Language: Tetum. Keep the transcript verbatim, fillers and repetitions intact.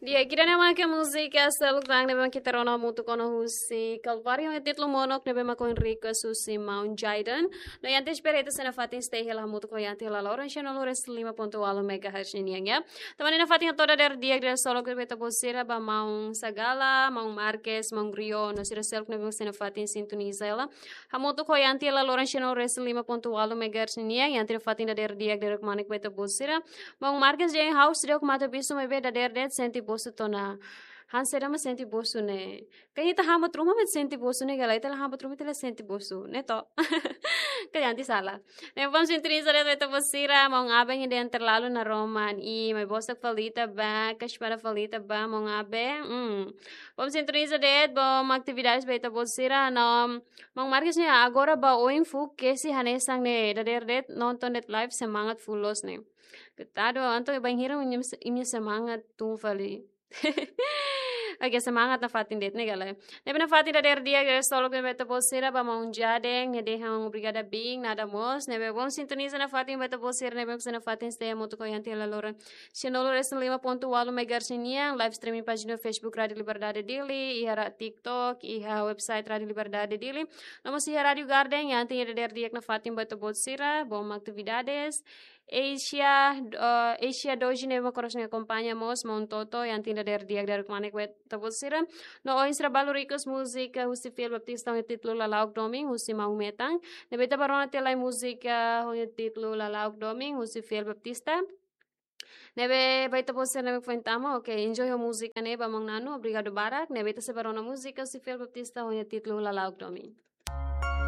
Di'ak, ida-ne'e mak múzika seluk tan ne'ebé mak ita rona hamutuk ona husi Kalváriu, ho títulu Monok, ne'ebé mak ohin request husi maun Jayden. No iha antes bereta sena fatin stay hela hamutuk ho Yanti hela loron cien nulu resin lima pontu ualu megahertz nian, ya. Tanba ne'e nafatin hato'o dadeer di'ak, dadeer solok ba ita-boot sira, ba maun Sagala, maun Marques, maun Rio, no sira seluk ne'ebé mak sena fatin sintoniza hela hamutuk ho Yanti hela loron cien nulu resin lima pontu ualu megahertz nian. Yanti nafatin dadeer di'ak, dadeer kmanek ba ita-boot sira. Maun Marques dehan ha'u seidauk mate-bisu, maibé dadeer de'it sente bosu tiha ona. Hanesan saida mak sente bosu ne'e? Kayak ita hamat ruma mak sente bosu ne'e, ka lae? Ita la hamat ruma ita la sente bosu ne'e, to? Kayak Yanti sala. Ne'e, vamos sintoniza de'it ba ita-boot sira, maun Abe nia dehan terlalu naroman. I, maibé bosak fali ita ba, kasih pada fali ita ba, maun Abe. Hmm. Vamos sintoniza de'it, bom atividades ba ita-boot sira, no maun Marques ne'e agora ba oin fuu kesi hanesan ne'e, dadeer de'it nonton de'it live semangat full loos ne'e. Koitadu, entaun bainhira imi, imi semangat tun fali. Oke, semangat nafatin de'it ne'e, ka lae? Ne'ebé nafatin dadeer di'ak, dadeer solok ba ita-boot sira, ba maun Jayden, nia dehan obrigada bin, nada mós. Ne'ebé vamos sintoniza nafatin ba ita-boot sira ne'ebé mak sena fatin stay hamutuk ho Yanti hela loron cien nulu resin lima pontu ualu megahertz nian, live streaming pájina Facebook Rádio Liberdade Dili, iha ra-, TikTok, iha website Rádio Liberdade Dili. No mós iha Rádio Garden, Yanti nia dadeer di'ak nafatin ba ita-boot sira, bom atividades. Asia, eh, Asia Doji ne'ebé mak oras ne'e akompaña mós, maun Toto, Yanti nia dadeer di'ak, dadeer kmanek ba ita-boot sira. No ohin sira balu request múzika husi Fiel Baptista ho títulu Lala'ok Domin, husi maun Metan. Ne'ebé ita bá rona tiha lai múzika ho títulu Lala'ok Domin, husi Fiel Baptista. Ne'ebé ba ita-boot sira ne'ebé foin tama, oke, enjoy ho múzika ne'e ba maun Nanu, obrigadu barak. Ne'ebé ita sei bá rona múzika husi Fiel Baptista ho títulu Lala'ok Domin.